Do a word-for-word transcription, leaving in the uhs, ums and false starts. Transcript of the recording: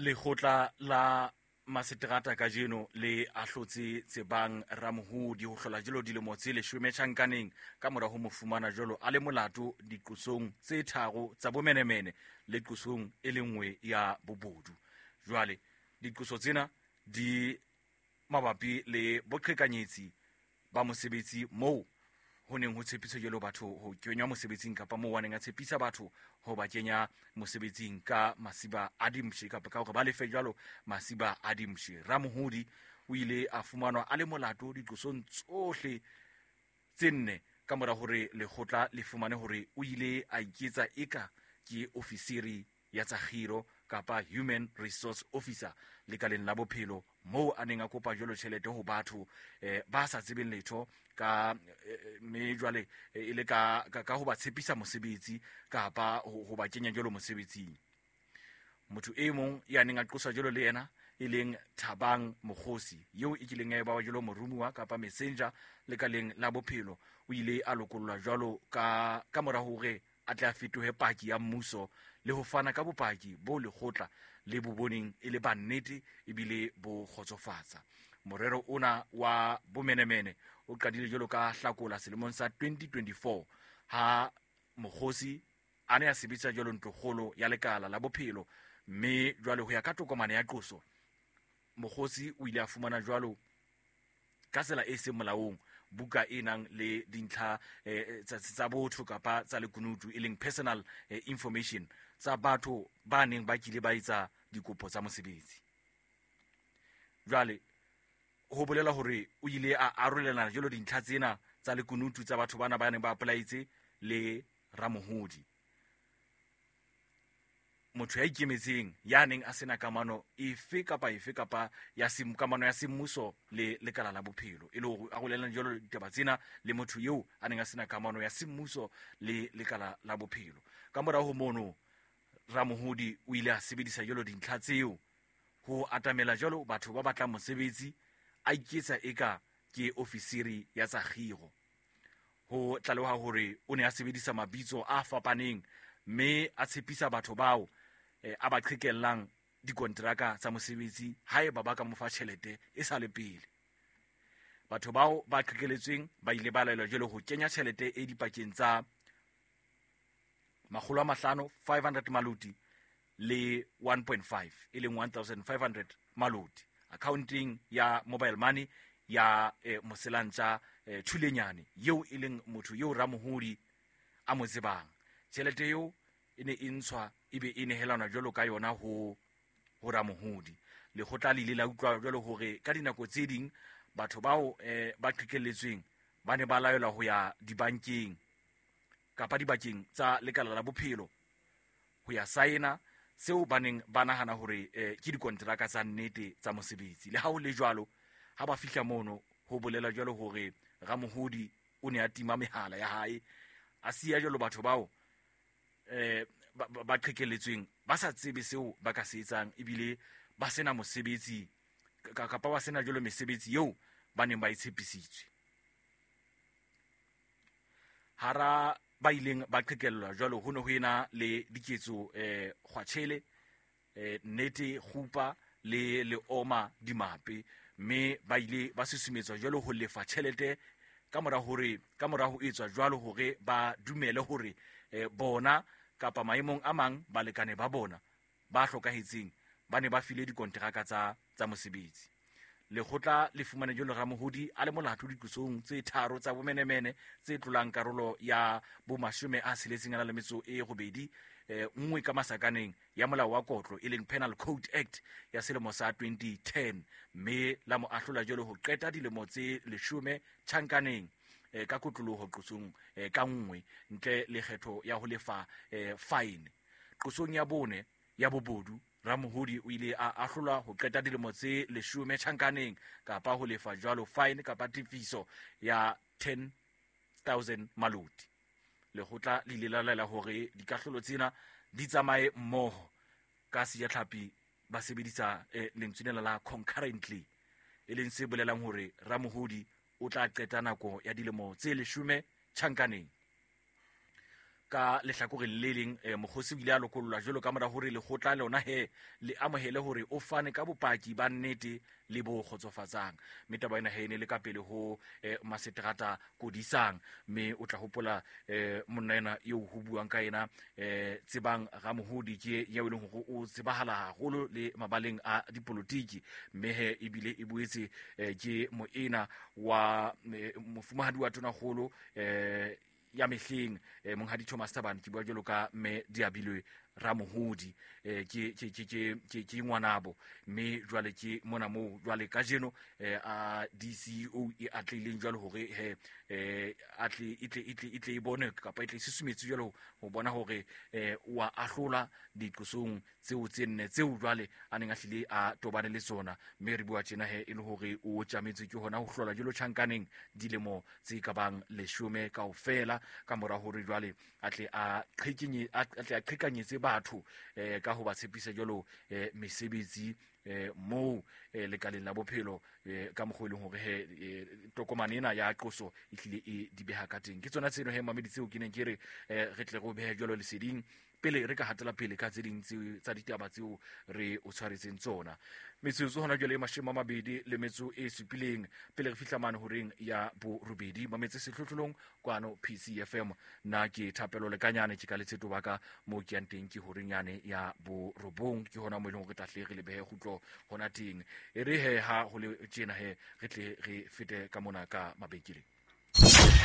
Lekgotla la maseterata kajeno le ahlotse Tsebang Ramohodi ho hlola jwalo dilemo tse leshome tjhankaneng ka mora ho mo fumana jwalo a le molato diqosong tse tharo tsa bomenemene le qosong e le nngwe ya bobodu. Jwale diqoso tsena di mabapi le boqhekanyetsi ba mosebetsi moo ho neng ho tshepiswa jwalo batho ho kenywa mosebetsing kapa moo a neng a tshepisa batho ho ba kenya mosebetsing ka masiba a dimpshe kapa ka hore ba lefe jwalo masiba a dimpshe. Ramohodi o ile a fumanwa a le molato diqosong tsohle tse nne ka mora hore lekgotla le fumane hore o ile a iketsa eka ke ofisiri ya tsa kgiro kapa human resource officer lekaleng la bophelo moo a neng a kopa jwalo tjhelete ho batho eh, ba sa tsebeng letho ka eh, mme jwale eh, e le ka, ka, ka ho ba tshepisa mosebetsi kapa ho, ho ba kenya jwalo mosebetsing. Motho e mong ya neng a qoswa jwalo le yena e leng Thabang Mokgosi eo e kileng ya eba jwalo moromuwa kapa messenger lekaleng la bophelo o ile a lokollwa jwalo ka, ka mora hore a tle a fetohe paki ya mmuso le ho fana ka bopaki bo lekgotla le bo boneng e le ba nnete ebile bo kgotsofatsa. Morero ona wa bomenemene o qadile jwalo ka Hlakola selemong sa twenty twenty-four ha Mokgosi a ne a sebetsa jwalo ntlokgolo ya lekala la bophelo, mme jwale ho ya ka tokomane ya qoso Mokgosi o ile a fumana jwalo ka tsela e seng molaong buka e nang le dintlha eh, tsa, tsa botho kapa tsa lekunutu e leng personal eh, information tsa batho ba neng ba kile ba etsa dikopo tsa mosebetsi. Jwale ho bolela hore o ile a arolelana jwalo dintlha tsena tsa lekunutu tsa batho bana ba neng ba apply-etse le Ramohodi, motho ya ikemetseng ya neng a sena kamano efe kapa efe kapa ya sem-, kamano ya semmuso le lekala la bophelo, e le hore a arolelana jwalo ditaba tsena le motho eo a neng a sena kamano ya semmuso le lekala la bophelo. Ka morao ho mono Ramohodi o ile a sebedisa jwalo dintlha tseo ho atamela jwalo batho ba batlang mosebetsi, a iketsa eka ke ofisiri ya tsa kgiro. Ho tlaleha hore o ne a sebedisa mabitso a fapaneng mme a tshepisa batho bao eh, a ba qhekellang dikonteraka tsa mosebetsi haeba ba ka mo fa tjhelete e sa le pele. Batho bao ba qhekeletsweng ba ile ba laelwa jwalo ho kenya tjhelete e dipakeng tsa makgolo a mahlano, five hundred maloti le one point five, e leng one thousand five hundred maloti accounting ya mobile money ya eh, Moselantja eh, Thulenyane eo e leng motho eo Ramohodi a mo tsebang. Tjhelete eo e ne e ntshwa ebe e nehelanwa jwalo ka yona ho, ho Ramohodi. Lekgotla le ile la utlwa jwalo hore ka dinako tse ding batho bao eh, ba qhekelletsweng ba ne ba laelwa ho ya dibankeng kapa dibakeng tsa lekala la bophelo ho ya saena seo ba neng ba nahana hore eh, ke dikonteraka tsa nnete tsa mosebetsi. Le ha ho le jwalo, ha ba fihla mono ho bolela jwalo hore Ramohodi o ne a tima mehala ya hae, a siya jwalo batho bao eh, ba, ba, ba qhekelletsweng ba sa tsebe seo ba ka se etsang ebile ba sena mosebetsi ka-, kapa ba sena jwalo mesebetsi eo ba neng ba e tshepisitswe. Hara ba ileng ba qhekellwa jwalo ho ne ho ena le Diketso eh, Kgwatshele, eh, Nnete Kgupa le Leoma Dimape, mme ba ile ba susumetswa jwalo ho lefa tjhelete ka mora hore, ka mora ho etswa jwalo hore ba dumele hore, eh, bona kapa maemong a mang balekane ba bona ba hlokahetseng ba ne ba file dikonteraka tsa, tsa mosebetsi. Lekgotla le fumane jwalo Ramohodi a le molato diqosong tse tharo tsa bomenemene tse tlolang karolo ya bomashome a tsheletseng a na le metso e robedi, eh, nngwe ka masakaneng ya molao wa kotlo e leng Penal Code Act ya selemo sa twenty ten, mme la mo ahlola jwalo ho qeta dilemo tse leshome tjhankaneng, eh, ka kotloloho qosong, eh, ka nngwe ntle le kgetho ya ho lefa, eh, fine. Qosong ya bone ya bobodu, Ramohodi o ile a ahlolwa ho qeta dilemo tse leshome tjhankaneng kapa ho lefa jwalo fine kapa tefiso ya ten thousand maloti. Lekgotla le ile la laela hore dikahlolo tsena di tsamaye mmoho ka sejatlhapi ba sebedisa, eh, lentswe lena la concurrently, e leng se bolelang hore Ramohodi o tla qeta nako ya dilemo tse leshome tjhankaneng. Ka lehlakoreng le leng eh, mokgosi o ile a lokollwa jwalo ka mora hore lekgotla lona he le amohele hore o fane ka bopaki ba nnete le bo kgotsofatsang. Mme taba ena he e ne le ka pele ho eh, maseterata Kodisang. Mme o tla hopola eh, monna ena eo ho buang ka yena eh, Tsebang Ramohodi ke eo e leng hore o tsebahala haholo le mabaleng a dipolotiki. Mme he ebile e boetse eh, ke moena wa eh, mofumahadi wa tonakgolo eh, ya mehleng eh, monghadi Thomas Thabane, ke bua jwalo ka mme Diabilwe Ramohodi eh, ke ke ke ke ke ke ngwanabo. Mme jwale ke mona moo jwale kajeno eh, a D C O e atlehileng jwalo hore he eh, atle e tle e tle e tle e bone kapa e tle e susumetse jwalo ho bona hore eh, wa ahlola diqosong tseo tse nne tseo jwale a neng a hlile a tobane le tsona. Mme re bua tjena he e le hore o tjametswe ke hona ho hlola jwalo tjhankaneng dilemo tse ka bang leshome kaofela, ka mora hore jwale a tle a qhekenye, a tle a qhekanyetse batho eh, ka ho ba tshepisa jwalo eh, mesebetsi eh, moo eh, lekaleng la bophelo eh, ka mokgwa e leng hore he eh, tokomane ena ya qoso e hlile e di beha ka teng. Ke tsona tseno he mamedi tseo ke neng ke re eh, re tle re o behe jwalo leseding pele re ka hatela pele ka tse ding tse tsa ditaba tseo re o tshwaretseng tsona. Metsotso hona jwale e mashome a mabedi le metso e supileng pele re fihla mane horeng ya borobedi. Mametse sehlohlolong kwano P C F M. Nna ke Thapelo Lekanyane, ke ka letsheto ba ka moo ke yang teng ke horeng yane ya borobong, ke hona moo e leng hore re tla hle re le behe kgutlo hona teng. E re he ha ho le tjena he re tle re fete ka mona ka mabenkeleng.